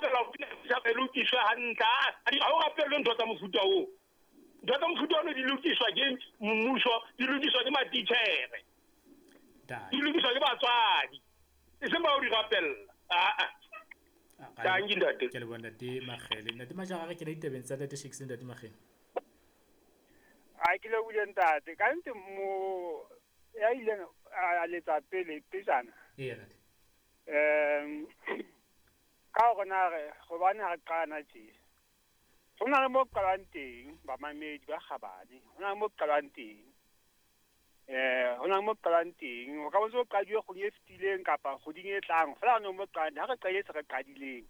rapela ho pina setjhaba e lokiswe hantle. Ha o rapellwe ntho tsa mofuta oo. Ntho tsa mofuta ono di lokiswa ke mmuso, di lokiswa ke matitjhere, di lokiswa ke batswadi, e seng ba o di rapella. Aa, tanki ntate. Ke leboha ntate Makgele. Ntate Majara, re kena ditabeng tsa ntate Shakes le ntate Makgele. A ke lebohile ntate. Ka nnete mo ya ileng a letsa pele pejana. Eya ntate. Ka hore na re hobane ha re qala tje. Ho na le mo qalang teng bamamedi ba kgabane. Ho na le mo qalang teng. Ho na le mo qalang teng. O ka botsa o qadiwe kgwedi e fetileng kapa kgweding e tlang. Feela ho na le mo qalang teng. Ha re qadile se re qadileng.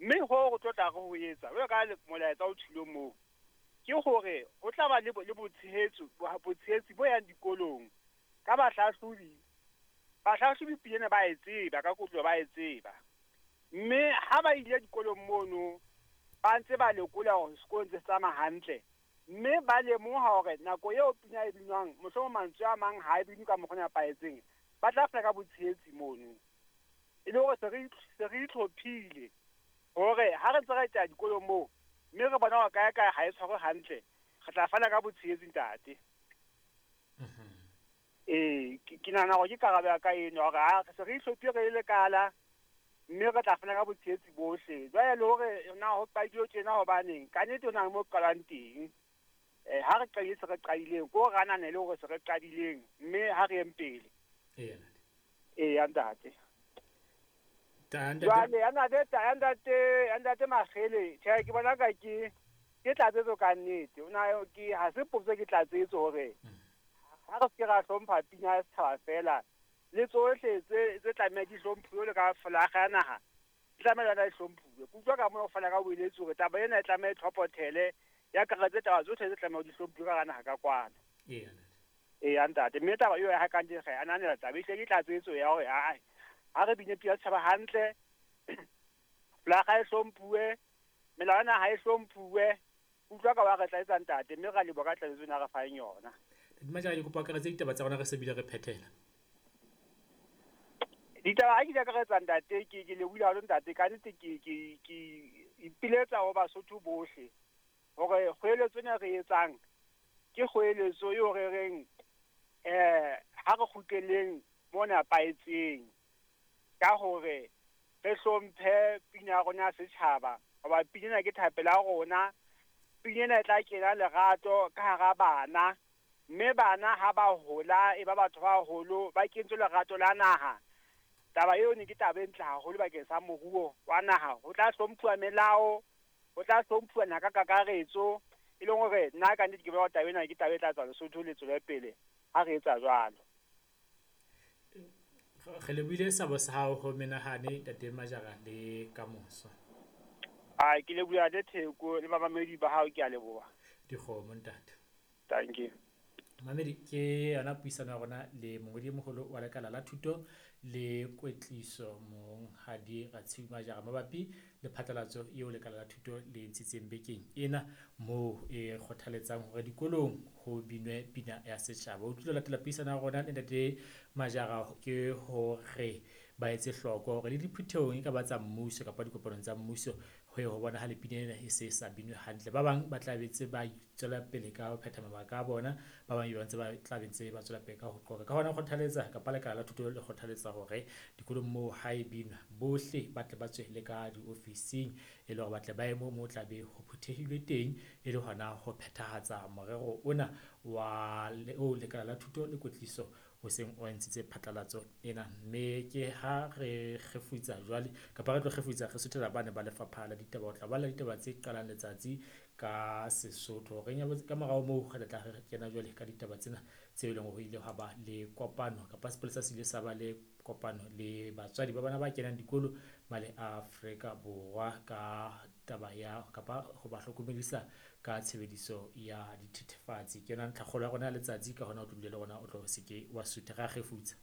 Mme ho re tlo tla re ho etsa. Jwalo ka molaetsa o thulwe moo. Ke hore ho tla ba le botshehetso, botshehetsi bo yang dikolong ka bahlahlobi. Bahlahlobi pina ba e tseba, ka kotlo ba e tseba. Mme ha ba ile dikolong mono ba ntse ba lekola hore sekolo ntse se tsamaya hantle. Mme ba lemoha hore nako eo pina e binwang, mohlomong mantswe a mang ha e binwe ka mokgwa o nepahetseng, ba tla fana ka botshehetsi mono. E le hore se re itlhophile hore ha re ntse re etela dikolong moo, mme re bona hore kae kae ha e tshwarwe hantle, re tla fana ka botshehetsi ntate. Ee, ke nahana hore ke karabo ya ka eno hore ha se re itlhophile re le lekala, mme re tla fana ka botshehetsi bohle. Jwale le hore na ho qadilwe tjena hobaneng, ka nnete ho na le mo qalang teng. Ha re qadile se re qadileng, ko re ananele hore se re qadileng, mme ha re yeng pele. Eya. Eya ntate. Jwale ya ntate Makgele, tjhe ke bona ka ke tlatsetso ka nnete. O na ke ha se potso, ke tlatsetso hore ha re se ke ra hlompha pina ya setjhaba fela, le tsohle tse tlameha di hlomphuwe le ka folaga ya naha, di tlameha le yona e hlomphuwe. Ke utlwa ka mona o fana ka boeletsi hore taba ena e tlameha e tlhophothele, ya akaretse taba tsohle tse tlameha di hlomphuwe ka hara naha ka kwana. Eya. Eya ntate. Mme taba eo ya ha ka nnete re ananela taba, ehlile ke tlatsetso ya hore ha re bine pina ya setjhaba hantle, folaga e hlomphuwe, melao ya naha e hlomphuwe. Utlwa ka wa re tla etsa ntate, mme ra leboha ka tlatsetso ena re fang yona. Ntate Majara, ke kopa akaretse ditaba tsa rona re se bile re phethela. Ditaba ha ke di akaretsa ntate, ke lebohile haholo ntate. Ka nnete ke ipiletsa ho Basotho bohle hore kgoeletso ena re etsang ke kgoeletso eo re reng ha re kgutleleng mo nepahetseng ka hore re hlomphe pina ya rona ya setjhaba, hoba pina ena ke thapelo ya rona. Pina ena e tla kena lerato ka hara bana, mme bana ha ba hola e ba batho ba baholo, ba kentswe lerato la naha. Taba eo ne ke taba e ntle haholo bakeng sa moruo wa naha. Ho tla hlomphuwa melao, ho tla hlomphuwa naha ka kakaretso, e leng hore nna ka nnete ke bona taba ena ke taba e tla tswa Lesotho le tswele pele ha re etsa jwalo. Re lebohile sabo sa hao ho menahane ntate Majara le kamoso. A ke leboha le Theko le bamamedi ba hao, ke a leboha. Dikgomo ntate. Thank you. Mamedi, ke yona puisano ya rona le mongodi e moholo wa lekala la thuto le kwetliso Monghadi Ratshiu Majara mabapi le phatlalatso eo lekala la thuto le ntshitseng bekeng ena, moo e kgothaletsang hore dikolong ho binwe pina ya setjhaba. O tlilo latela puisano ya rona le ntate Majara ke hore ba etse hloko hore le diphuthehong e ka ba tsa mmuso kapa dikopanong tsa mmuso ho ye ho bona ha le pina ena e se sa binwe hantle. Ba bang ba tla be ntse ba tswela pele ka ho phetha mabaka a bona, ba bang ba ntse ba tla be ntse ba tswela pele ka ho qoqa. Ka hona kgothaletsa kapa lekala la thuto le kgothaletsa hore dikolong moo ha e binwa bohle ba tle ba tswe le ka diofising, e le hore ba tle ba ye moo tla be ho phuthehilwe teng, e le hona ho phethahatsa morero ona wa o lekala la thuto le kwetliso o seng o ntshitse phatlalatso ena. Mme ke ha re kgefutsa jwale kapa re tlo kgefutsa re suthela bane ba lefapha la ditaba ho tla bala ditaba tse qalang letsatsi ka Sesotho. Re nyabotse ka morao moo re tla re kena jwale ka ditaba tsena tse leng hore ile hwa ba le kopano kapa sepolesa se ile sa ba le kopano le batswadi ba bana ba kenang dikolo male Afrika Borwa ka taba ya kapa ho ba hlokomedisa ka tshebediso ya dithethefatsi. Ke yona ntlhakgolo ya rona ya letsatsi, ka hona o tlo dula le rona o tlo se ke wa sutha. Ra kgefutsa.